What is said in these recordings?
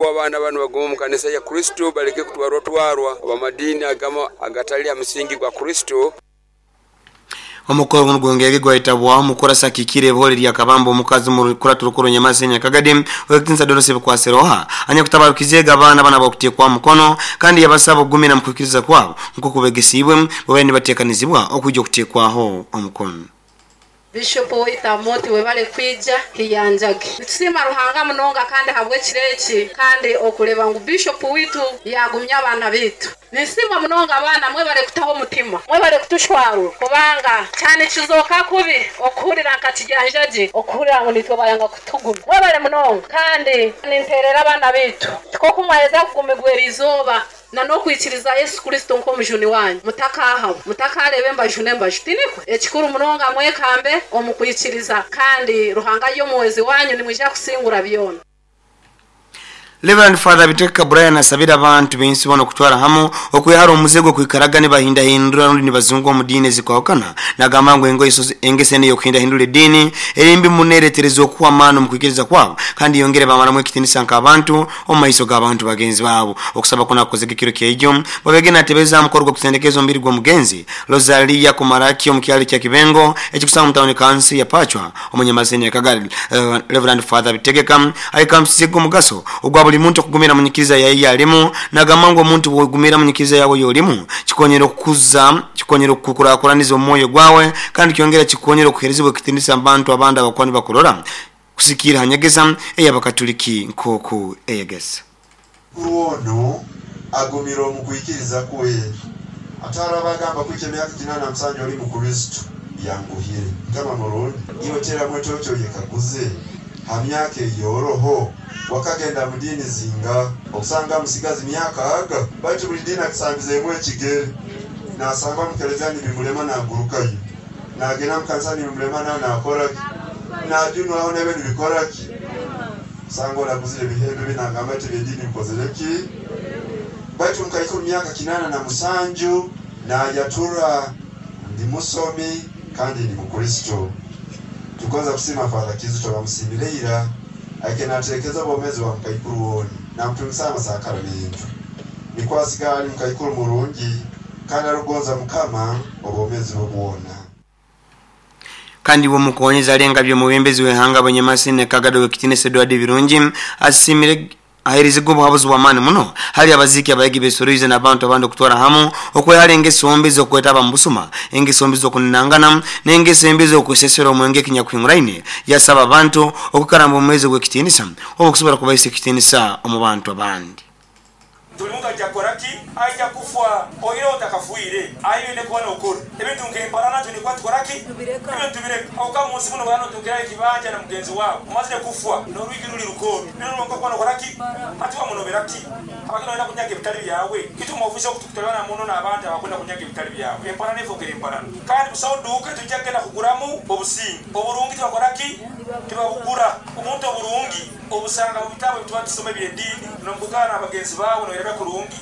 Abaana banu bagume omu kanisa ya Kristo baleke kutwarwatwarwa ab'amadiini agamu agatali ha musingi gwa Kristo. Omukoro gunu gwongeire gwaitabwaho omukurasi akikiire ebihore erya Kabamba omukazi omu rukurato rukuru Nyamasi Nyakagadi Owekitinisa Dorothy Bikwaseroha anyakutabarukizeege abaana banu abakuteekwaho omukono kandi yabasaba okugumira omu kwikiriza kwabo nkoku begesiibwe bwebaire nibateekanizibwa okwija okuteekwaho omukono. Bishop waitu Amooti webale kwija Kiyanjage. Nitusiima Ruhanga munonga kandi ahabw'ekiro eki kandi okureeba ngu Bishop waitu yaagumya abaana baitu. Ninsiima munonga abaana mwebale kutaho omutima, mwebale kutushwarura kubanga kyanikizooka kubi okuhurira nka Kiyanjage okuhurira ngu naitwe bayanga kutugumya. Mwebale munonga kandi ninteerera abaana baitu nti nk'oku mwaheza kugumibwa eriizooba na n'okwikiriza Yesu Kristo nk'omujuni wanyu mutakaahaba, mutakareeba embaju n'embaju. Tinikwo? Ekikuru munonga mwekambe omu kwikiriza kandi Ruhanga ari omuhwezi wanyu nimwija kusingura byona. Reverend Father Bitekeka Brian asabire abantu b'ensi boona okutwara hamu okwehara omuze gw'okwikaraga nibahindahindura rundi nibazunga omu diini ezikwahukana. Nagamba ngu engeso enu ey'okuhindahindura ediini eri mbi muno eretereza okuhwa amaani omu kwikiriza kwabo kandi yongere bamaramu ekitinisa nk'abantu omu maiso g'abantu bagenzi baabo. Okusaba kunu akukozege ekiro kyaijo bwabege natebeza aha mukoro gw'okusendekeza omubiri gw'omugenzi Rosalia Kumaraki omu kyaro kya Kibengo ekikusangwa omu tawuni kansi ya Pachwa omu Nyamaseni ya Kagadi. Reverend Father Bitegeka aikambisize omugaso ogwa buli muntu okugumira mu nyikiriza yaye yalimu. Nagamba ngu omuntu bwogumira mu nyikiriza yawe yolimu kikonyera okukuza, kikonyera okukurakuraniza omwoyo gwawe kandi kyongera kikonyera okuherezibwa ekitinisa abantu abandi abakuba nibakurora kusikiira ha nyegesa ey'abakatuliki nk'oku eyegesa. Mukuru onu agumire omu kwikiriza kwe. Ate haro abagamba kwikya emyaka 87 oli Mukristo yanguhire. Mukama murungi, iwe teramu etoki oyekaguze ha myaka eyoroho wakagenda mu diini zinga okusanga musigazi myaka aga baitu buli diini akisambizeemu ekigere nasangwa mukelezia nibimulema nagurukayo nagenda mukanisa nibimulema nawe nakoraki najunwaho nebe nibikoraki kusanga oraguzire ebihembe binagamba ati ebyediini bikozereki baitu mukaikuru myaka 87 nayatura ndi musomi kandi ndi Mukristo. Tugonza kusima Father Kizito bamusimire ira aike naterekeza obwomezi bwa mukaikuru woni namutungisa amasakaramento nikwo asigara ali mukaikuru murungi kandi arugonza Mukama obwomezi bwe bwona. Kandi bwomukonyeza alenga by'omubembezi w'ehanga Banyamasi ne Kagado w'ekitinisa Edward Birungi asimire aherizibwa obuhabuzi bw'amaani muno hali abaziki abayegi besoroize n'abantu abandi okutwara hamu okwehara engeso mbi z'okwetaba mu busuma, engeso mbi z'okunanangana n'engeso embi z'okwesesera omwenge ekinyakuhinguraine. Yasaba abantu okukaramba omwezi gw'ekitinisa obu okusobora kubaisa ekitinisa omu bantu abandi. Buli muntu aija kukora ki? Aija kufa. Oihireho otakafiire, aye oine kuba nokora ebintu nk'emparana. Twine kuba nitukora ki? Ebyo nitubireka. Aho omu nsi muno bwaba notuukiraho ekibanja na mugenzi waawe omazire kufa, n'orwigi ruri rukooro, binu rwonka okuba nokora ki? Hati wamunobera ki? Habwaki noyenda kunyaga ebitari byawe? Itwe omu ofiisi oku tukutabana muno n'abantu abakwenda kunyaga ebitari byawe. Emparana efookere emparana. Kandi busaho duuka etwija kugenda kuguramu obusinge. Oburungi tibakora ki? Tibabugura. Omuntu oburungi obusanga mu bitabo ebituba nitusoma eby'ediini, n'omu kwikara n'abagenzi baawe noyereka kurungi.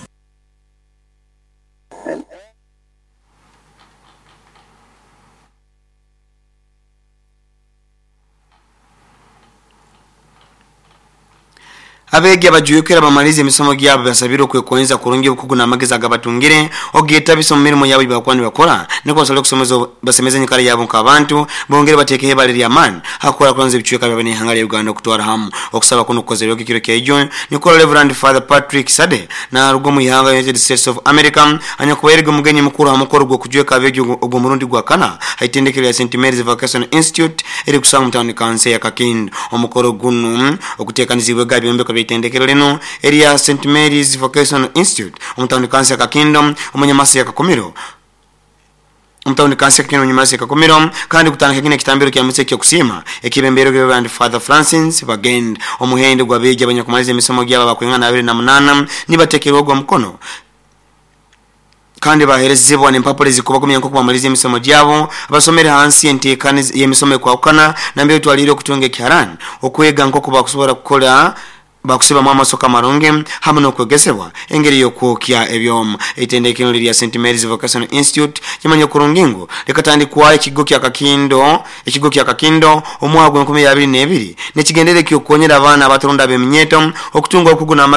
Abeegi abajwekera bamalize emisomo gyabo basabire okwekonyeza kurungi obukugu n'amagezi agabatungire ogetabisa omu mirimo yabo eyibakuba nibakora nikwo basobole kusomeza basemeze enyikara yabo nk'abantu bongere bateekeho ebara ery'amaani hakukurakuranza ebicweka byabo n'ihanga lya Uganda okutwara hamu. Okusaba kunu kukozerwege ekiro kyaijo nikwo Reverend Father Patrick Sade naruga omu ihanga United States of America anyakubairege omugenyi mukuru ha mukoro gw'okujweka abeegi ogw'omurundi gwa kana ha itendekero lya St Mary's Vocational Institute eri kusangwa omu tawuni kansi ya Kakindu. Omukoro gunu oguteekanizibwege aha byombeko by'itendekero linu erya St Mary's Vocational Institute omu tawuni kansi ya Kakindu omu Nyamasi ya Kakumiro omu tawuni kansi ya Kakindu omu Nyamasi ya Kakumiro kandi kutandika kinu ekitambiro kya misa eky'okusiima ekibembeirwe Reverend Father Francis Bagenda. Omuhendo gw'abeegi abanyakumaliza emisomo gyabo abakwingana 28 nibateekerwaho omukono kandi baherezibwa n'empapura ezikubagumya nk'oku bamaliza emisomo gyabo basomere hansi y'enteekaniza y'emisomo ekwahukana nambere twalire okutunga ekiharani okwega nk'oku bakusobora kukora Bakusibamu amasoka amarungi hamu n'okwegesebwa engeri y'okwokya ebyoma. Eitendekero lya St Mary's Vocational Institute kimanye kurungi ngu likatandikwaho ekigo kya Kakindo, ekigo kya Kakindo omwaka gwa 2022 nekigendere ky'okukonyera abaana abaturunda ab'eminyeto okutunga obukugu.